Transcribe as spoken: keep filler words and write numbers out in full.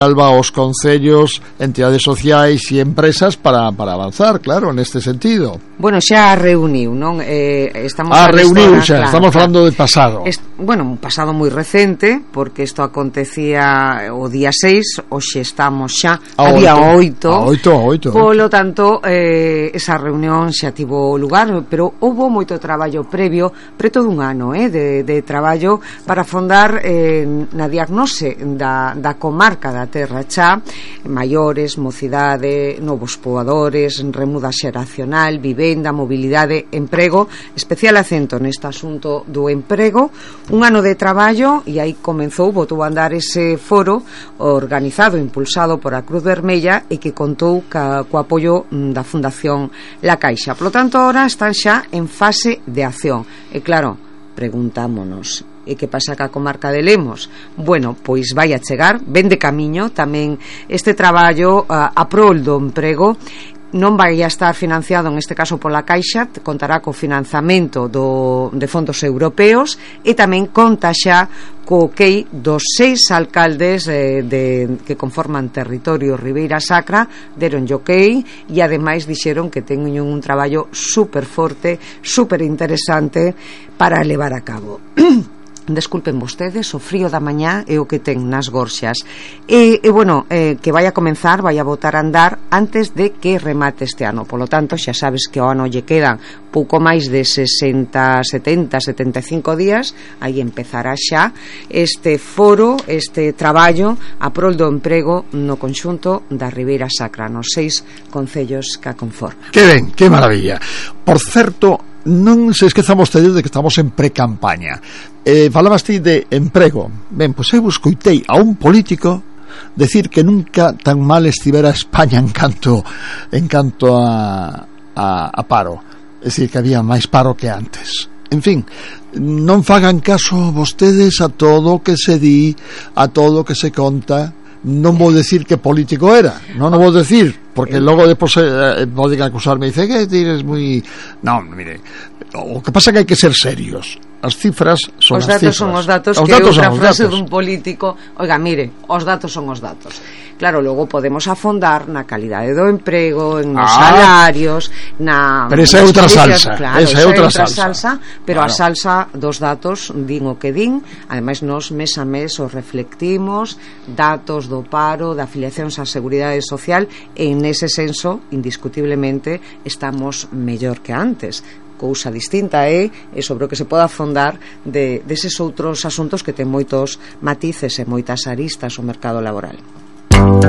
Alba os concellos, entidades sociais e empresas para, para avanzar, claro, neste sentido. Bueno, xa reuniu, non? Eh, estamos ah, reuniu hora, xa, claro, estamos claro. falando de pasado. Est bueno, un pasado moi recente, porque isto acontecía o día seis, hoxe estamos xa a día oito. A oito, a oito. Polo tanto, eh, esa reunión xa tivo lugar, pero houbo moito traballo previo, preto dun ano, eh, de, de traballo para afondar eh, na diagnose da, da comarca da Terra Chá, maiores, mocidade, novos poboadores, remuda xeracional, vivenda, mobilidade, emprego, especial acento neste asunto do emprego, un ano de traballo, e aí comenzou, botou a andar ese foro organizado, impulsado por a Cruz Vermella e que contou ca, co apoio da Fundación La Caixa. Por lo tanto, ahora están xa en fase de acción. E claro, preguntámonos, e que pasa ca comarca de Lemos? Bueno, pois vai a chegar, ven de camiño tamén este traballo a, a prol do emprego. Non vai a estar financiado, en este caso pola Caixa, contará co financiamento do, de fondos europeos e tamén conta xa co ok dos seis alcaldes eh, de, que conforman territorio Ribeira Sacra, deron o ok e ademais dixeron que teñen un traballo super forte, super interesante para levar a cabo. Desculpen vostedes, o frío da mañá é o que ten nas gorxas. E, e bueno, eh, que vai a comenzar, vai a botar a andar antes de que remate este ano. Polo tanto, xa sabes que ao ano lle quedan pouco máis de sesenta, setenta, setenta e cinco días. Aí empezará xa este foro, este traballo a prol do emprego no conxunto da Ribeira Sacra, nos seis concellos que a conforman. Que ben, que maravilla. Por certo, non se esquezan vostedes de que estamos en pre-campaña. Eh, falabas ti de emprego. Ben, pois eu escoitei a un político decir que nunca tan mal estivera España en canto en canto a, a, a paro. É dicir, que había máis paro que antes. En fin, non fagan caso vostedes a todo o que se di, a todo o que se conta. Non vou decir que político era, non o vou decir, porque logo depois eh, poden acusarme e dice que tires moi... Non, mire, o que pasa é que hai que ser serios. As cifras son os as datos cifras. Son os datos, os que datos outra son os frase datos. dun político. Oiga, mire, os datos son os datos. Claro, logo podemos afondar na calidade do emprego, en nos ah, salarios, na... Pero esa é outra salsa. Claro, esa é outra salsa. salsa. Pero claro. A salsa dos datos din o que din. Ademais, nos mes a mes os reflectimos, datos do paro, da afiliacións á Seguridade Social, e en ese senso, indiscutiblemente, estamos mellor que antes. Cousa distinta é e sobre o que se pode afondar de deses outros asuntos que ten moitos matices e moitas aristas o mercado laboral.